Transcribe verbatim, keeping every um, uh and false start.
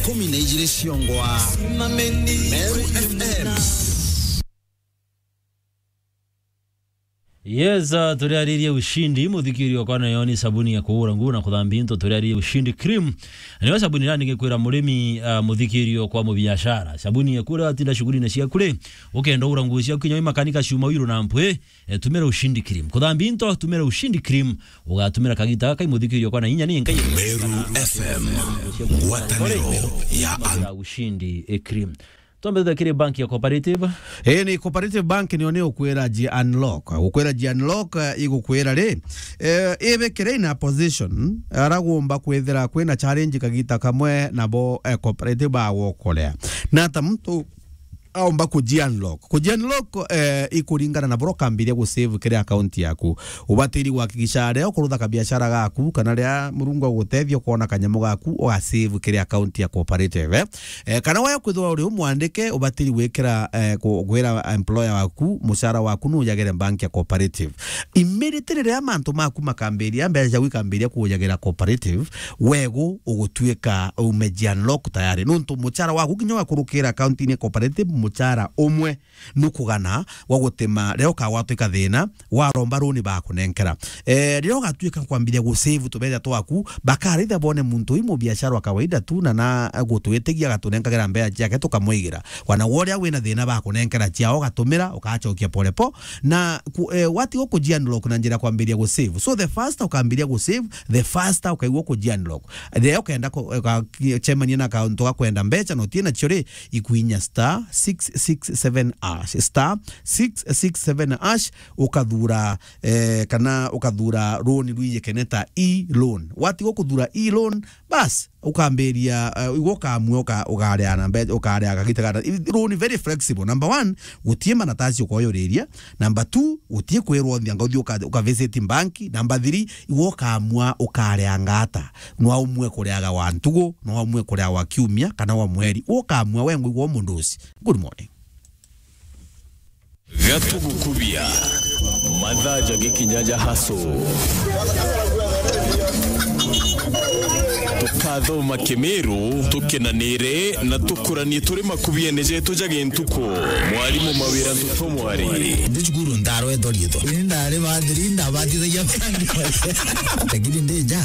kumi na ijiri ciongwa. Meru F M. Yes, uh, turiaririe ushindi, muthikirio kwa nayo ni sabuni ya kuura nguo na kuthambia into, turiaririe ushindi cream. Niyo sabuni irani gikwira murimi, uh, muthikirio kwa mubiashara. Sabuni ya kuura atinda shughuli na cia kuri, ukenda ura nguo cia kinya makanika ciuma wiru na mpwi, eh, tumira ushindi cream. Kuthambia into, tumira ushindi cream. Ugatumira kagita gaka imuthikirio kwa na inya ni nkai. Meru F M, ngwataniro ya an- ya ushindi, eh, cream. Twambe thutha kiri bank ya Cooperative. Ii ni Cooperative Bank niyo ni ukwira ji unlock. Ukwira ji unlock, eh, igukwira ri, eh, ibikire in a position, ara gumba kwithira kwina challenge kagita kamwe nabo, eh, Cooperative bagokorea. Na ata muntu aumba kuji unlock. Kuji unlock, eh, ikuringana na bura ukambiria gu save kiri account yaku. Ubatiri gwakikisha ria ukurutha kabiashara gaku, kana ria Murungu agutethia ukona kanyamu gaku, uga save kiri account ya Cooperative, eh. Eh, kana waya kwithirwa uri umwandike, ubatiri gwikira, eh, ku-, gwira employer waku, mucara waku nujagire bank ya Cooperative. Immediately riria mantu maku makambiria, mbeca ciaku ikambiria kujagira Cooperative, wegu ugutuika umeji unlock tayari. Nuntu mucara waku kinya ugakurukira account-ini ya Cooperative, mucara umwe nukugana gwa gutima riria ukagwatwa ikathina, waromba runi bakunenkera. Eh, riria ugatuika kwambiria gu save tubeca twaku, bakaraitha bone muntu ui mubiashara wa kawaida tu na na gutwitigia agatunenkagira mbeca ciake tukamwigira. Wana woria wina thina bakunenkera ciao ugatumira, ukacokia polepo, na ku-, eh, watiga kuji unlock na njira ya kwambiria gu save. So the faster ukambiria gu save, the faster ukaigua kuji unlock. Riria ukenda ku-, uka-, cemania na kauntu ga kwenda mbeca na utie nacio ri, ikuinya star six six seven hash, star six six seven hash, ukathura, eh, kana ukathura loan rwijikene ta e-loan. Watiga kuthura e-loan, bas, ukambiria, eh, igwe ukamua uka-, ukaria na mbe-, ukaria kagita gata. I-, loan very flexible. Number one, gutie manatasi ukoyuriria. Number two, gutie kwirwo nthia ngauthi uka-, uka visit bank. Number three, igwe ukamua ukaria ngata. No umue kuriaga wa ntugu, no umue kuriaga wa kiumia, kana wa mweri. Ukamua we ngwigwa mundu uci. Good morning. Gatugukubia. Mathaa ja gikinya ja haso. Tukathoma Kimiru, tukenanire na tukuranie turi makubiene jetu ja gintuku. Mwarimu Mawira Ntuto Mwari. Ndi cukuru ndarwetwo riitwa. Ini ndari bathiri, ndabatithagia bandi. Lakini ndi nja,